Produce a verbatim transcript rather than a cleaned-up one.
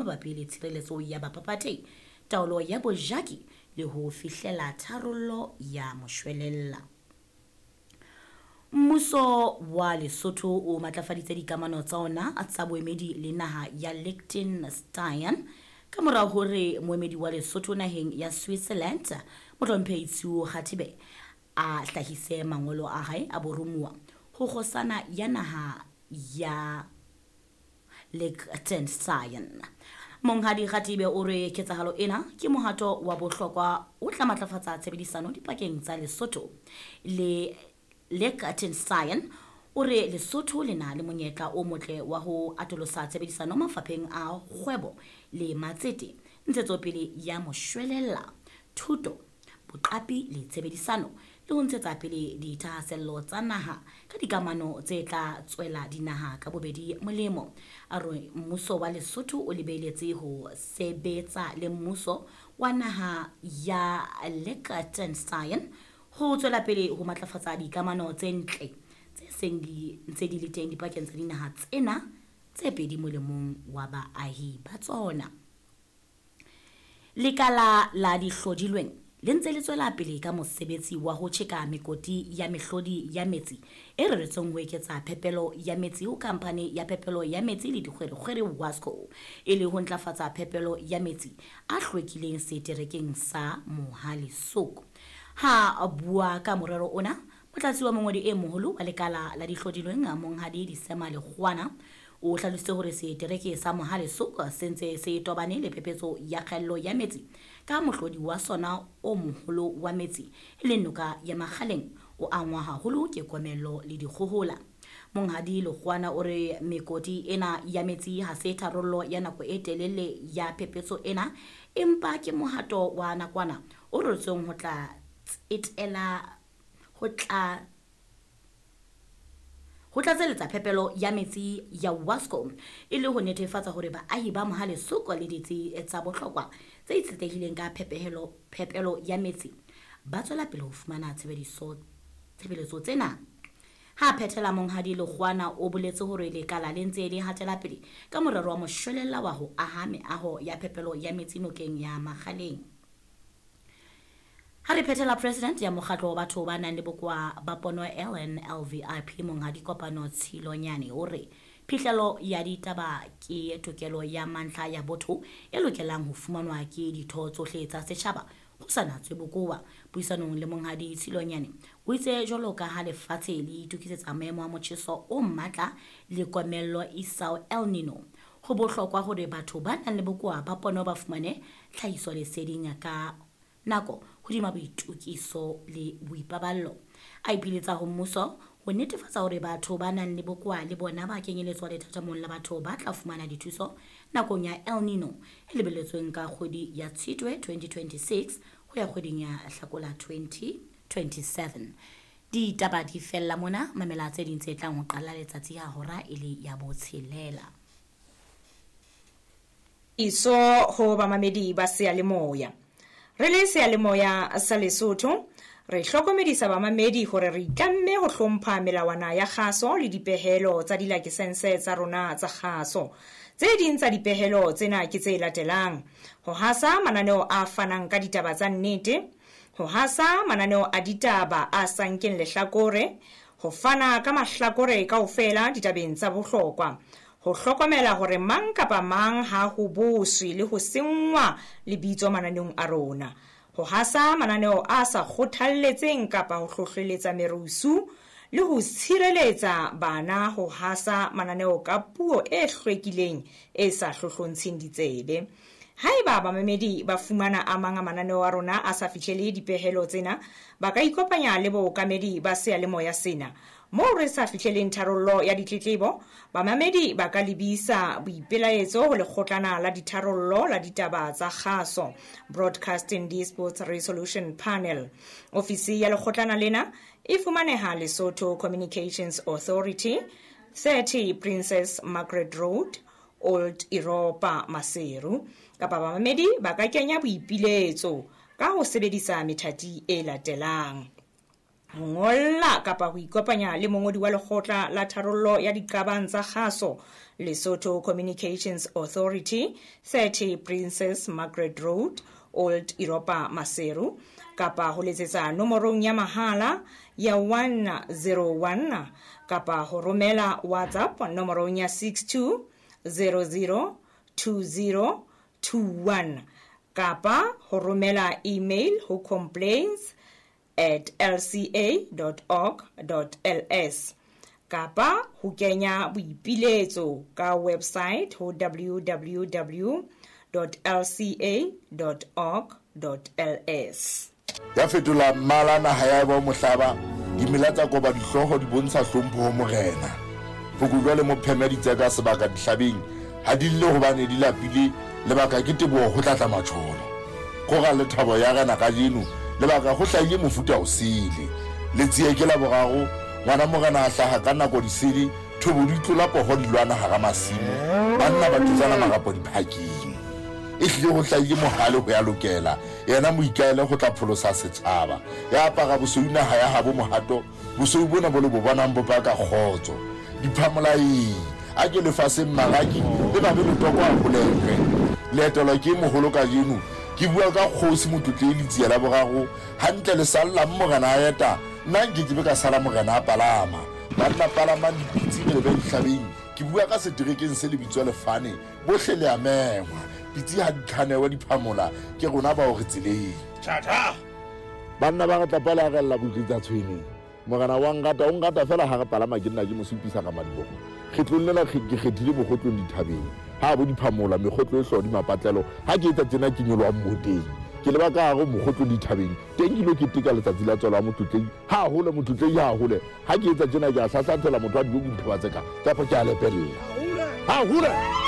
mabapi le tshireletso ya baphaphathehi, taolo ya bojaki le ho fihlela tharollo ya moshwelella. Mmuso wa Lesotho o matlafaditse dikamano tsa ona tsa boemedi le naha ya Liechtenstein ka mora hore moemedi wa Lesotho naheng ya Switzerland, Mohlomphehi Tshiu Kgathibe, a hlahise mangolo a hae a boromuwa ho kgosana ya naha ya Liechtenstein. Monghadi Kgathibe o re ketsahalo ena ke mohato wa bohlokwa o tla matlafatsa tshebedisano dipakeng tsa Lesotho le Liechtenstein. O re Lesotho le na le monyetla o motle wa ho atolosa tshebedisano mafapheng a kgwebo le matsete, ntshetsopele ya moshwelella, thuto, boqapi le tshebedisano, le ho ntshetsa pele dithahasello tsa naha ka dikamano tse tla tswela dinaha ka bobedi molemo. A re mmuso wa Lesotho o lebeletse ho sebetsa le mmuso wa naha ya Liechtenstein ho tswela pele ho matlafatsa dikamano tse ntle tse seng di ntse di le teng dipakeng tsa dinaha tsena tse pedi molemong wa baahi ba tsona. Lekala la dihlodilweng le ntse le tswela pele ka mosebetsi wa ho tjheka mekoti ya mehlodi ya metsi e reretsweng ho eketsa phepelo ya metsi ho khamphane ya phepelo ya metsi le dikgwerekgwere WASCO, e le ho ntlafatsa phepelo ya metsi a hlwekileng seterekeng sa Mohale'shoek. Ha a bua ka morero ona, motlatsi wa mongodi e moholo wa lekala la dihlodilweng Monghadi Disema Lekgowana o hlalositse hore setereke sa Mohale'shoek se ntse se tobane le phephetso ya kgaello ya metsi ka mohlodi wa sona o moholo wa metsi e leng noka ya Makgaleng o angwa haholo ke komello le dikgohola. Monghadi Lekgowana o re mekoti ena ya metsi ha se tharollo ya nako e telele ya phephetso ena, empa ke mohato wa nakwana o reretsweng ho tla tsetela ho tla ho tlatseletsa phepelo ya metsi ya WASCO e le ho netefatsa hore baahi ba Mohale'shoek le ditsi tsa bohlokwa tse itshetlehileng ka phepelo phepelo ya metsi ba tswela pele ho fumana tshebediso tshebeletso tsena. Ha phethela, Monghadi Lekgowana o boletse hore lekala le ntse le hatela pele ka morero wa moshwelella wa ho aha meaho ya phepelo ya metsi nokeng ya Makgaleng. Ha re phethela, president ya mokgatlo wa batho ba nang le bokowa ba pono L N L V I P, Monghadi Kopano Tshilonyane, o re phihlelo ya ditaba ke tokelo ya mantlha ya botho e lokelang ho fumanwa ke ditho tsohle tsa setjhaba ho sa natswe bokowa. Puisanong le Monghadi Tshilonyane, o itse jwalo ka ha lefatshe le itokisetsa maemo a motjheso o matla le komello isao El Nino, ho bohlokwa hore batho ba nang le bokowa ba pono ba fumane tlhahisoleseding ka nako hodima boitokiso le boipaballo. A ipiletsa ho mmuso ho netefatsa hore batho ba nang le bokowa le bona ba kenyeletswa lethathamong la batho ba tla fumana dithuso nakong ya El Nino e lebelletsweng ka kgwedi ya Tshitwe twenty twenty-six ho ya kgweding ya Hlakola twenty twenty-seven. Ditaba di fella mona. Mamela tse ding tse tlang ho qala letsatsi ha hora e le ya botshelela. Iso ho bamamedi ba seyalemoya. Re le seyalemoya sa Lesotho, re hlokomedisa bamamedi hore re itlamme ho hlompha melawana ya kgaso le dipehelo tsa dilakesense tsa rona tsa kgaso. Tse ding tsa dipehelo tsena ke tse latelang: ho hasa mananeo a fanang ka ditaba tsa nnete, ho hasa mananeo a ditaba a sa nkeng lehlakore, ho fana ka mahlakore kaofela ditabeng tsa bohlokwa, ho hlokomela hore mang kapa mang ha ho boswe le ho senngwa lebitso mananeong a rona, ho hasa mananeo a sa kgothalletseng kapa ho hlohleletsa merusu, le ho tshireletsa bana ho hasa mananeo ka puo e hlwekileng e sa hlohlontsheng ditsebe. Haeba bamamedi ba fumana a mang a mananeo a rona a sa fihlele dipehelo tsena, ba ka ikopanya le bookamedi ba seyalemoya sena. Moo re sa fihleleng tharollo ya ditletlebo, bamamedi ba ka lebisa boipelaetso ho lekgotlana la ditharollo la ditaba tsa kgaso, Broadcasting Disputes Resolution Panel. Ofisi ya lekgotlana lena e fumaneha Lesotho Communications Authority, thirty Princess Margaret Road, Old Europa, Maseru. Kapa bamamedi ba ka kenya boipiletso ka ho sebedisa methati e latelang: Ho ngolla kapa ho ikopanya le mongodi wa lekgotla la tharollo ya diqabang tsa kgaso, Lesotho Communications Authority, thirty Princess Margaret Road, Old Europa Maseru, kapa ho letsetsa nomorong ya mahala ya one zero one kapa ho romela WhatsApp nomorong ya six two zero zero two zero two one kapa ho romela email ho complaints at l c a dot org dot l s kapa ho kenya boipiletso ka website ho w w w dot l c a dot org dot l s. Ya fetola mmala naha ya eba mohlaba, dimela tsa koba dihlooho di bontsha hlompho ho morena. Phokojwe le mopheme di tseka sebaka dihlabeng, ha di lle hobane di lapile, lebaka ke teboho ho tlatla matjholo. Kgora le thabo ya rena kajeno, lebaka ho hlahile mofuta o sele. Letsie ke la boraro, ngwana morena a hlaha ka nako disele, thobo di tlola poho di lwana hara masimo, banna ba thutsana marapo diphakeng. E hlile ho hlahile mohale ho ya lokela, yena moikaele ho tla pholosa setjhaba. Ya apara bosweu naha ya habo mohato, bosweu bona bo le bo bonang bo paka kgotso. Diphamolaeng, a ke lefatsheng maraki, le babe letoko a holekwe. Leeto la ke moholo kajeno, ke bua ka kgosi Motlotlei Letsie la boraro, hantle le sallang morena a eta, nna nke ke be ka sala morena a palama. Banna palamang dipitsi re lebe dihlabeng, ke bua ka seterekeng se le bitswa Lefane, bohle le a mengwa. Pitsi ha di tlhanewe diphamola, ke rona bao re tseleng. Tjha-tjha! Banna ba re tla le arella botlitsa tshwene. Morena wa nrata, o nrata fela ha re palama ke nna ke mo supisa ka madiboho. Kgetlong lena ke kgethile mokgotlong dithabeng. Ha bo diphamola, mekgotlo e hlodi mapatlelo, ha ke etsa tjena ke nyolohang moteng. Ke leba ka hare mokgotlong dithabeng, teng ke lo keteka letsatsi la tswalo ya Motlotlei. Ha hole Motlotlei, ha hole. Ha ke etsa tjena ke a hlahlathela motho a dijo dithaba tse ka, kapa ke a lepella. Ha hole!